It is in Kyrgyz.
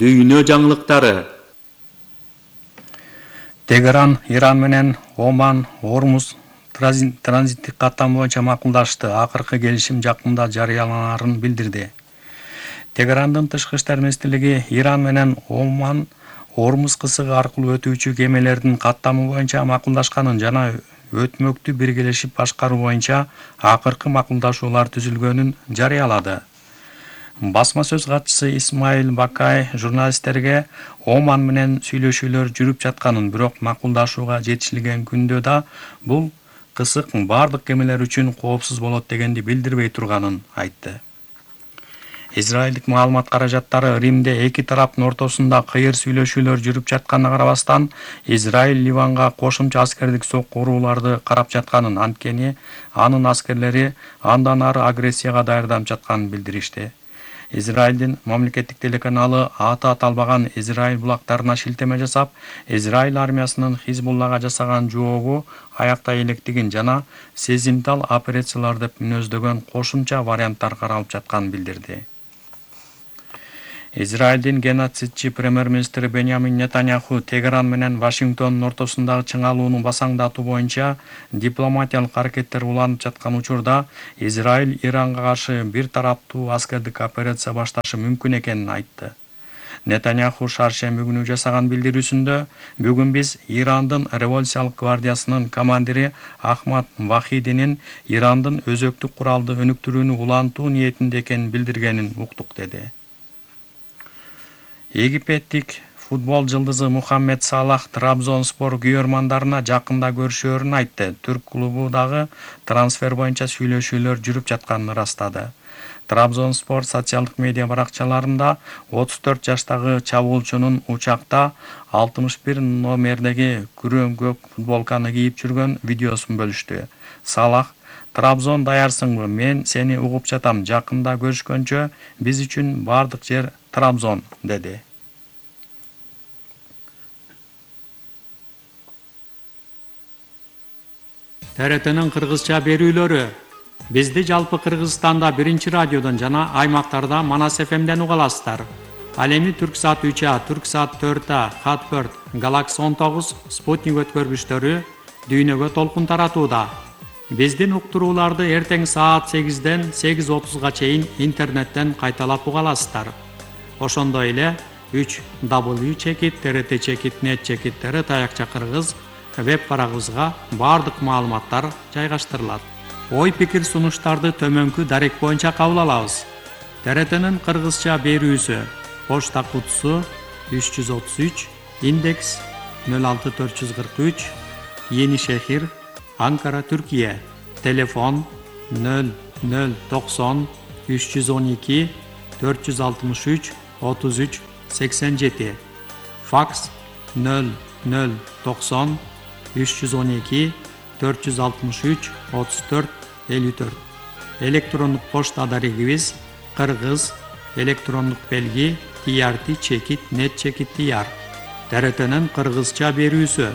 Дүйнө жаңылыктары. Тегеран Иран менен Оман Ормуз транзиттик каттам боюнча макулдашты. Акыркы келишим жакында жарыяланарын билдирди. Тегерандын тышкы иштер министрлиги Иран менен Оман Ормуз кысыгы аркылуу өтүүчү кемелердин каттамы боюнча макулдашканын жана өтмөктү биргелешип башкаруу боюнча акыркы макулдашуулар түзүлгөнүн жарыялады. Басма сөз катчысы Исмаил Бакай журналисттерге Оман менен сүйлөшүүлөр жүрүп жатканын, бирок макулдашууга жетишилген күндө да бул кысык бардык кемелер үчүн коопсуз болот дегенди билдирбей турганын айтты. Израилдик маалымат каражаттары Римде эки тараптын ортосунда кыйыр сүйлөшүүлөр жүрүп жатканына карабастан, Израиль Ливанга кошумча аскердик сокку урууларды карап жатканын, анткени анын аскерлери андан ары агрессияга даярданып жатканын билдиришти. Израилдин мамлекеттик телеканалы аты аталбаган Израиль булактарына шилтеме жасап, Израиль армиясынын Хизбуллага жасаган жообу аякта электигин жана сезимтал операциялар деп мүнөздөгөн кошумча варианттар каралып жатканын билдирди. Израилдин геноцидчи премьер-министри Беньямин Нетаньяху Тегеран менен Вашингтондун ортосундагы чыңалууну басаңдатуу боюнча дипломатиялык аракеттер уланып жаткан учурда Израиль Иранга каршы бир тараптуу аскердик операция башташы мүмкүн экенин айтты. Нетаньяху шаршемби күнү жасаган билдирүүсүндө бүгүн биз Ирандын революциялык гвардиясынын командири Ахмад Вахидинин Ирандын өзөктүк куралды өнүктүрүүнү улантуу ниетинде экенин билдиргенин уктук деди. Египеттик футбол жылдызы Мухаммед Салах Трабзонспор күйөрмандарына жакында көрүшөөрүн айтты. Түрк клубу дагы трансфер боюнча сүйлөшүүлөр жүрүп жатканын ырастады. Трабзонспор социалдык медиа баракчаларында 34 жаштагы чабуулчунун учакта 61 номердеги күрөң көк футболканы кийип жүргөн видеосун бөлүштү. Салах: "Трабзон даярсыңбы? Мен сени угуп жатам. Жакында көрүшкөнчө, биз үчүн бардык жер Трабзон", деди. ТРТнын кыргызча берүүлөрү. Бизди жалпы Кыргызстанда 1 радиодон жана аймактарда Манас ФМден уга аласыздар. Ал эми Түрксат 3А, Түрксат 4А, Хатбird, Galaxy 19, Спутник өткөргүчтөрү дүйнөгө толкун таратууда. Биздин уктурууларды эртең саат 8ден 8:30га чейин интернеттен кайталап уга аласыздар. Ошондой эле 3w.trt.net/tr таякча кыргыз веб барагыбызга бардык маалыматтар жайгаштырылат. Ой-пикир сунуштарды төмөнкү дарек боюнча кабыл алабыз. ТРТнын кыргызча берүүсү. Почта кутусу 333, индекс 06443, Yeni Şehir, Ankara, Türkiye. Telefon 0090 312 463 33 87. Faks 0090 312 463 34 54. Elektronik poçta adarigimiz Kırgız elektronik belgi trt.net/tr. TRT'nin Kırgızça berүүsü.